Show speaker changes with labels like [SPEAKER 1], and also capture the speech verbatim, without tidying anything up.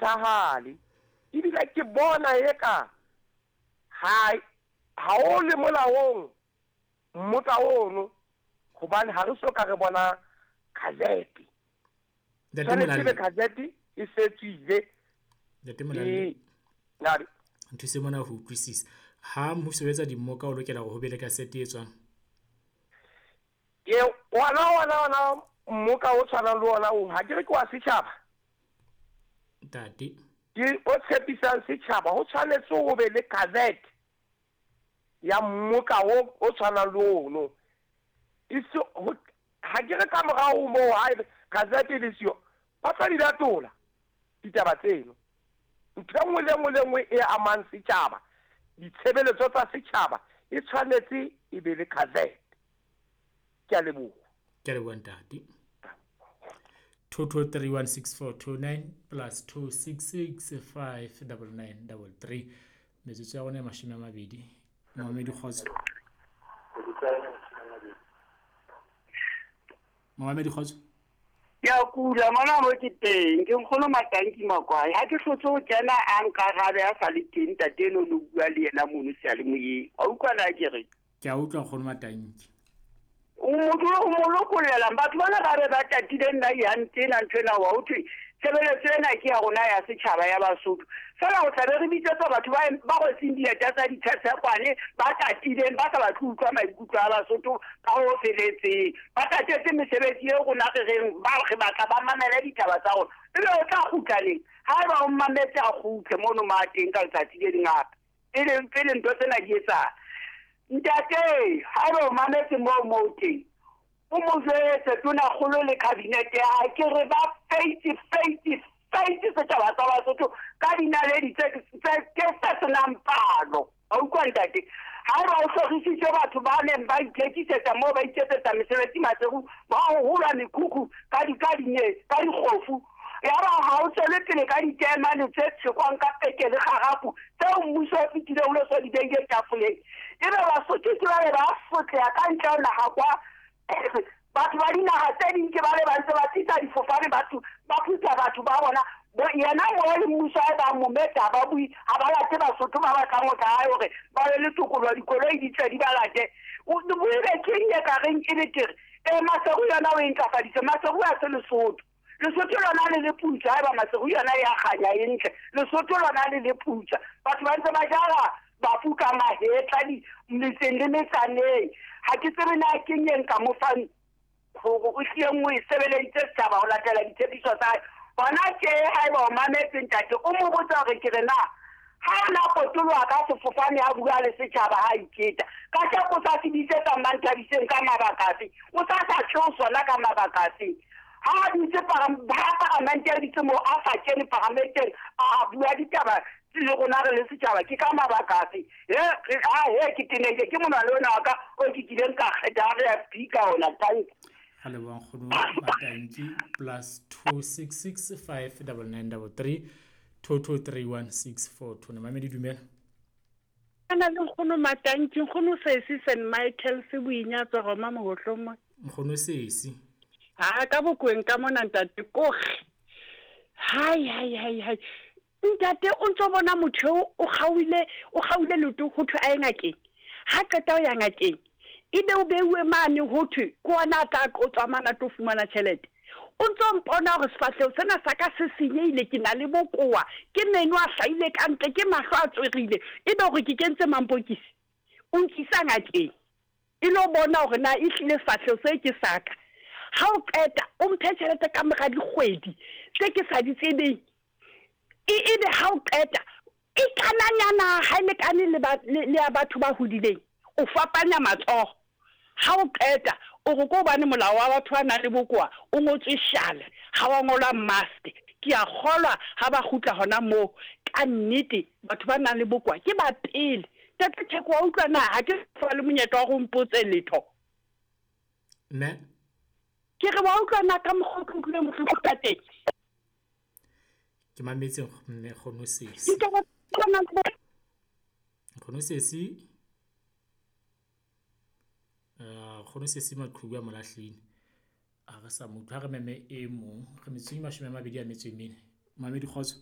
[SPEAKER 1] phethahale. Ebile ke bona eka ha ha o le molaong mmoka ono, hobane ha re so ka re bona gazette.
[SPEAKER 2] Ntate
[SPEAKER 1] Tshwanetse
[SPEAKER 2] Molalle.
[SPEAKER 1] ebe gazette e se tswile.
[SPEAKER 2] Ntate Molalle.
[SPEAKER 1] E nare
[SPEAKER 2] Nthuse mona ho utlwisisa. Ha mmuso o etsa dimmoka o lokela hore ho be le kasete e tswang.
[SPEAKER 1] Ke ona ona ona mmoka o tshwanang le ona o, ha ke re ke wa setjhaba.
[SPEAKER 2] Ntate.
[SPEAKER 1] Ke o tshepisang setjhaba, ho tshwanetse ho be le gazette ya mmoka o o tshwanang le ono. E se ho, ha ke re ka morao moo ha ebe gazette e le siyo, ba tla di latola ditaba tseno. Ntho e nngwe le nngwe le nngwe e amang setjhaba, ditshebeletso tsa setjhaba e tshwanetse e be le gazette. Ke a leboha.
[SPEAKER 2] Ke a leboha ntate. two two three one six four two nine plus two six six five double nine double three. Metsotso ya rona e mashome a mabedi. Momamedi kgotso. Momamedi kgotso.
[SPEAKER 3] Ke a kula mona mo ke teng, ke nkgono Matanki Makwai. Ha ke hlotse ho kena a nkarabe a sa le teng ntate eno no bua le yena mono seyalemoyeng. Wa utlwa na ke re?
[SPEAKER 2] Ke a utlwa nkgono Matanki.
[SPEAKER 3] O motho o mo lokollelang batho bana ba be ba tatile nna ya ntena ntho ena wa ho thwe tshebeletso ena ke ya rona ya setjhaba ya Basotho. Feela o tla be re bitsetsa batho ba ba rwetseng dieta tsa ditshetshe ba tatileng, ba sa batle ho utlwa maikutlo a Basotho ka ho feletseng. Ba tatetse mesebetsi eo rona re reng ba re batla ba mamele ditaba tsa rona. Ebe o tla kgutla neng? Haeba o mmametse a kgutle mono ma teng ka letsatsi le leng hape. Pele pele ntho tsena di etsahala. Ntate, haeba o mametse moo moo teng, o mo jwetse tonakgolo le cabinet ya hae, ke re ba feitse, feitse, feitse setjhaba sa Basotho ka dinaledi tse tse tse se senang palo. Wa utlwa ntate? Haeba o hlorisitse batho ba neng ba ithekisetsa moo ba iketsetsa mesebetsi Maseru, ba ho hulwa mekhukhu ka di ka dinye, ka dikgofu. Yaba ha o tswele pele ka ditaemane tse tshekwang ka peke le kgarafu tseo mmuso o fetileng o lo so di beile tafoleng. Ebe Basotho ke ba be ba sotleha ka ntle ho naha kwa. Batho ba dinaha tse ding ke ba le ba ntse ba tlisa difofane, batho ba phutha batho ba bona. Bo yena mo le mmuso ha ba mo meta ba bui, ha ba late Basotho ba batlang ho tla hae hore ba be le tokoloho, dikoloi di tle di ba late. O o ebe keng e ka reng e betere? Eh, Maseru yona o e ntlafaditse, Maseru ha se Lesotho. Lesotho lona le le putsa, haeba Maseru yona ya kganya e ntle. Lesotho lona le le putsa. Batho ba ntse ba jala bafu ka mahetla di metseng le metsaneng. Ha ke tsebe na ke eng e nka mo fang hore o hlile o e sebeleditse setjhaba ho latela ditshepiso tsa hae. Hona tje haeba o mametse ntate, o mo botsa hore ke re na ha o na potoloha ka sefofane ha bua le setjhaba ha iketa. Ka tjeko sa se bitsetsa Manthabiseng ka mabaka afe? O sa sa tjho sona ka mabaka afe? Ha a dutse param-, ha paramente a dutse moo, a sa kene paramenteng, a bua ditaba le rona re le setjhaba, ke ka mabaka afe? He, re, ha, he, ke tenehile, ke monwana ona wa ka o ke kileng ka kgetha ha re ya speaker ona, thank you.
[SPEAKER 2] Ga leboha nkgono Matanki, plus two six six five double nine double three two two three one six four two. Mamedi dumela.
[SPEAKER 4] Ana le nkgono Matanki, nkgono Sesi Saint Michael se boinyatso Roma mohohlomo.
[SPEAKER 2] Nkgono Sesi.
[SPEAKER 4] Ha ka bokweng ka mona ntate koge. Hai hai hai hai. Ntate o ntso bona motho eo o kgaoile, o kgaoile leoto ho thwe a ye ngakeng. Ha qeta ho ya ngakeng, ebe o beuwe mane ho thwe ke ona a tla qotswa mane a tlo fumana tjhelete. O ntso mpona hore sefahleho sena sa ka se senyehile, ke na le bokowa, ke meno a hlahile ka ntle, ke mahlo a tswerile, ebe hore ke kentse mampokisi. O nkisa ngakeng e lo bona hore na ehlile sefahleho se ke sa ka. Ha o qeta o mphe tjhelete ka mora dikgwedi tse ke sa di tsebeng. E ebe ha o qeta e kananyana ha e lekane le ba, le, le ya batho ba hodileng, o fapanya matsoho. Ha o qeta o re ko hobane molao wa batho ba nang le bokowa o ngotswe shale, ha wa ngolwa mask. Ke a kgolwa ha ba kgutla hona moo, ka nnete batho ba nang le bokowa ke ba pele. Ntate Theko, wa utlwa na ha ke fa le monyetla wa ho mpotse letho?
[SPEAKER 2] Mme?
[SPEAKER 4] Ke re wa utlwa na ka mokgwa o ke utlwileng bohloko ka teng?
[SPEAKER 2] Ke mametse mme nkgono Sesi.
[SPEAKER 4] Ditaba tsa nang le bo-
[SPEAKER 2] Nkgono Sesi. Eh, nkgono Sesi maqhubu a molahlehile. Ha re sa mo utlwa, ha re meme e mong. Re metsotso e mashome a mabedi a metso e mene. Mamedi kgotso.